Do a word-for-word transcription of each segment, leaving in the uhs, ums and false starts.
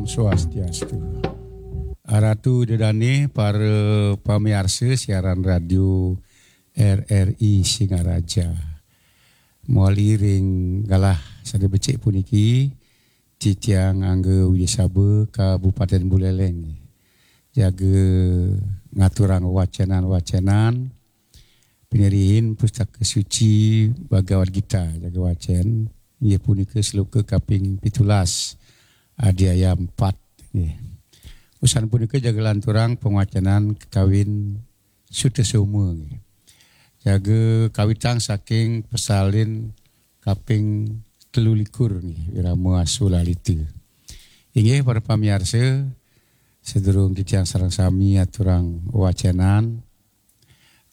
Swastiastu. Aratu Ida Dane, para pamiarsa siaran radio R R I Singaraja. Mawali ring galah sane becik puniki, titiang Angga Widya Saba, Kabupaten Buleleng, jaga ngaturang wacenan-wacenan pinihin Pustaka Suci Bhagavad Gita, jaga wacen, inggih punika sloka kaping pitulas, adhyaya empat, nggih. Usan punika jaga lanturang pangwacenan kakawin Sutasoma, nggih. Jaga kawitang saking pasalin kaping telu likur, nggih, Wirama Asu Lalita. Inggih, para pamiarsa, sadurung titiang sareng sami aturang wacenan,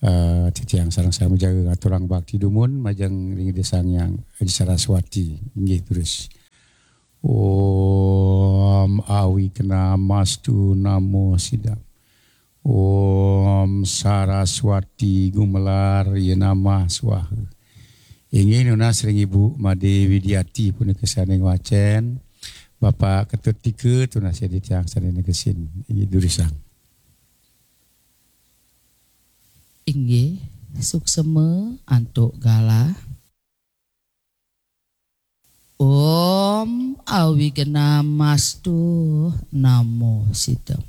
eh, titiang sareng sami jaga ngaturang bakti dumun majeng ring Ida Sang Hyang Aji Saraswati. Inggih, terus. Om Awignamastu Namo Sidam. Om Saraswati Gumelar Ye Namah Swaha. Inggih, nunas ring Ibu Made Widiati punika sane ngwacen. Bapak Ketut Tika, tunas ring titiang sane negesin. Inggih, durusang. Inggih, suksema antuk galah. Om Awignamastu Namo Sidam.